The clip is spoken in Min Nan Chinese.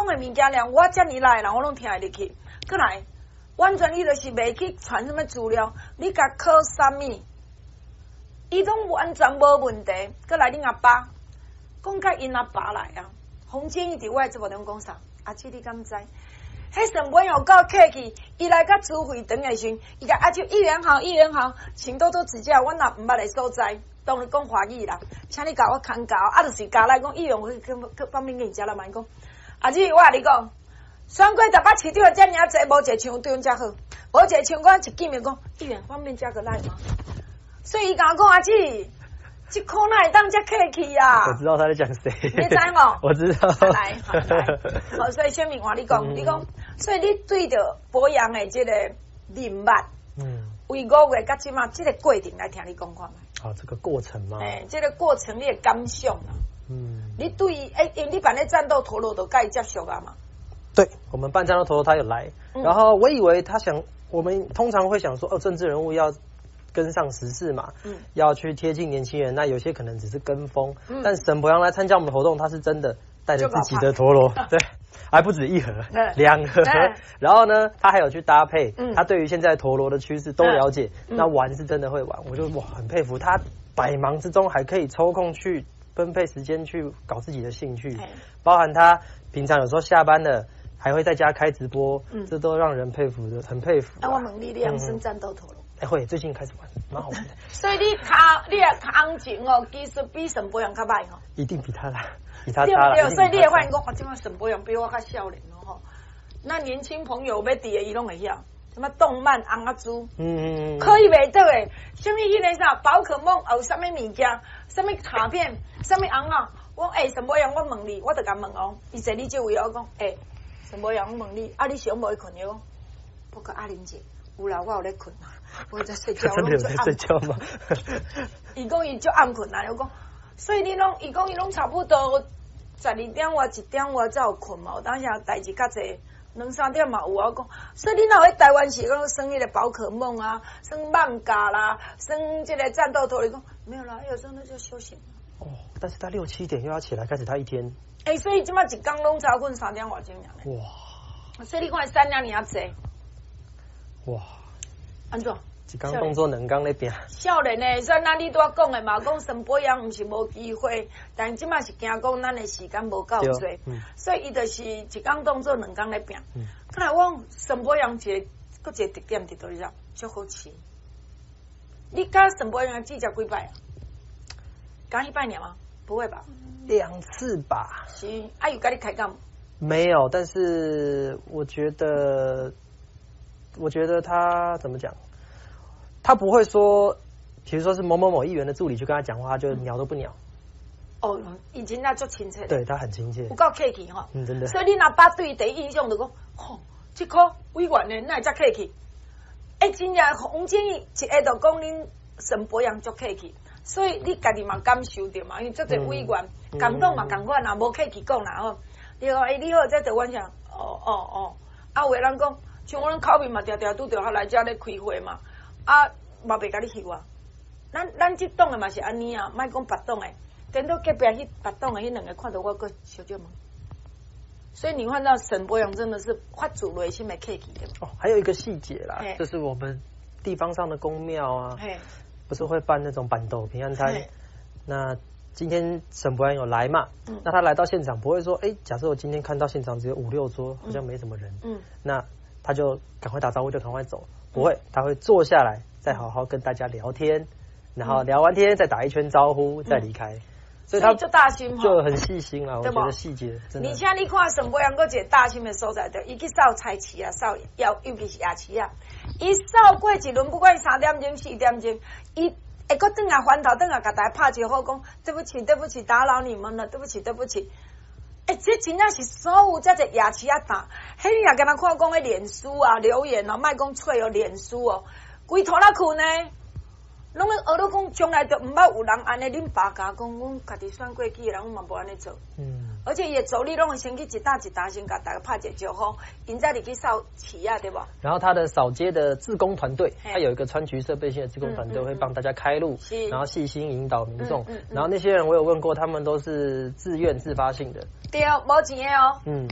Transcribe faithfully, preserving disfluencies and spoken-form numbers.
講的物件，連我遮爾老的人，我攏聽會入去。閣來，完全伊就是袂去傳啥物資料，你共考啥物，伊攏完全無問題。閣來，恁阿爸講共𪜶阿爸來啊，洪建義佇我的節目中講啥？阿姊你敢知？彼沈伯洋有夠客氣，伊來到主會場的時陣，伊共阿叔議員好，議員好，請多多指教。我若毋捌的所在，當然講華語啦，請你共我牽教。啊，就是加來講議員，我去去方便給你食啦嘛。伊講，阿姊，我共你講，選過台北市長遮爾濟，無一個像對阮遮好，無一個像我一見面講，議員方便加個 LINE 嗎？所以伊共我講，阿姊，這箍哪會當遮客氣啊？我知道他在講誰，你知無？我知道。來，好來，好，所以小明換你講，你講，所以你對著博洋的這個人脈，嗯，為五月到這馬這個過程來聽你講看覓。好，這個過程嗎？欸，這個過程你的感想啊？嗯，你對欸，因為你辦咧戰鬥陀螺都共伊接觸啊嘛？對，我們辦戰鬥陀螺，他有來，然後我以為他想，我們通常會想說，哦，政治人物要跟上時事嘛，嗯，要去貼近年輕人。那有些可能只是跟風，嗯，但沈伯洋來參加我們的活動，他是真的帶着自己的陀螺，對，還不止一盒，兩盒。然後呢，他還有去搭配，他對於現在陀螺的趨勢都了解。那玩是真的會玩，我就哇很佩服他，百忙之中還可以抽空去分配時間去搞自己的興趣，包含他平常有時候下班了還會在家開直播，這都讓人佩服的，很佩服。那我問你，你會耍戰鬥陀螺？欸，會，最近開始玩，蠻好玩的。所以你跤，你的跤前哦，技術比沈伯洋較䆀吼。一定比他啦，比他差啦。對，所以你會發現講，哦，這馬沈伯洋比我較少年哦吼。那年輕朋友欲佇的，伊攏會曉。什麼動漫尪仔豬，嗯，可以袂倒的，啥物彼个啥寶可夢，有啥物物件，啥物卡片，啥物尪仔，我欸，沈伯洋，我問你，我就共問哦，伊坐你這位，我講欸，沈伯洋，我問你，啊，你上無去睏？伊講，不過阿玲姐，有啦，我有咧睏啊，我在睡覺。真的有在睡覺嗎？伊講伊足暗睏啊，我講，所以你攏，伊講伊攏差不多十二點外一點外才有睏嘛，有當時代誌較濟。兩三點嘛有啊，我講，所以你若喺台灣是講耍彼個寶可夢啊，耍艋舺啦，耍這個戰鬥陀螺，講沒有啦，有時候那就休閒。哦，但是他六七點又要起來開始他一天。欸，所以這馬一工攏早睏三點外鐘爾。哇！所以你看三點爾濟。哇！按怎？一工當做兩工咧拚。少年的，所以咱你拄仔講的嘛，講沈伯洋毋是無機會，但這馬是驚講咱的時間無夠濟，所以伊就是一工當做兩工咧拚。看來我講沈伯洋一個，閣一個特點佇佗裡足好飼。你佮沈伯洋見遮幾擺啊？敢彼擺爾嗎？不會吧？兩次吧。是，啊有共你開講？沒有，但是我覺得，我覺得他怎麼講？他不會說，比如說是某某某議員的助理去跟他講話，他就鳥都不鳥。哦，伊真正足親切。對，他很親切。有夠客氣吼。嗯，真的。所以你若爸對第一印象就講，吼，這箍委員的哪會遮客氣？欸，真正洪建義一下就講恁沈伯洋足客氣，所以你家己嘛感受著嘛，因為足濟委員共黨嘛仝款啦，無客氣講啦吼。你講欸，你好，這台灣啥？哦哦哦，啊，有的人講，像阮口面嘛，定定拄著他來遮咧開會嘛。啊，嘛袂共你翕啊！咱咱這黨的嘛是按呢啊，莫講別黨的，顛倒隔壁彼別黨的彼兩个看著我閣小少問。所以你看到沈伯洋真的是發自內心的客氣的。哦，還有一個細節啦，就是我們地方上的宮廟啊，不是會辦那種辦桌平安餐？那今天沈伯洋有來嘛？嗯，那他來到現場不會說，哎，假設我今天看到現場只有五六桌，好像沒什麼人，嗯，那他就趕快打招呼就趕快走。不會，他會坐下來，再好好跟大家聊天，然後聊完天再打一圈招呼，再離開。所以他就大心就很細心啊，我覺得細節真的。而且你看沈伯洋閣一個大心的所在，就伊去掃菜市啊，掃尤尤其是夜市啊，伊掃過一輪，不管三點鐘四點鐘，伊會閣轉來翻頭轉來，共大家拍招呼講對不起，對不起，打擾你們了，對不起，對不起。欸，這真正是所有遮濟夜市仔檔，彼你若敢若看講彼臉書啊留言哦，莫講喙哦，臉書哦，規塗仔睏呢，攏咧學咧講，從來就毋捌有人按呢，恁爸共講，阮家己選過去的人，阮嘛無按呢做。嗯。而且伊的助理攏會先去一搭一搭先共大家拍一個招呼，𪜶再入去掃市仔，對無？然後他的掃街的志工團隊，他有一個穿橘色背心的志工團隊，會幫大家開路，然後細心引導民眾。然後那些人我有問過，他們都是自願自發性的。對，無錢的哦。嗯。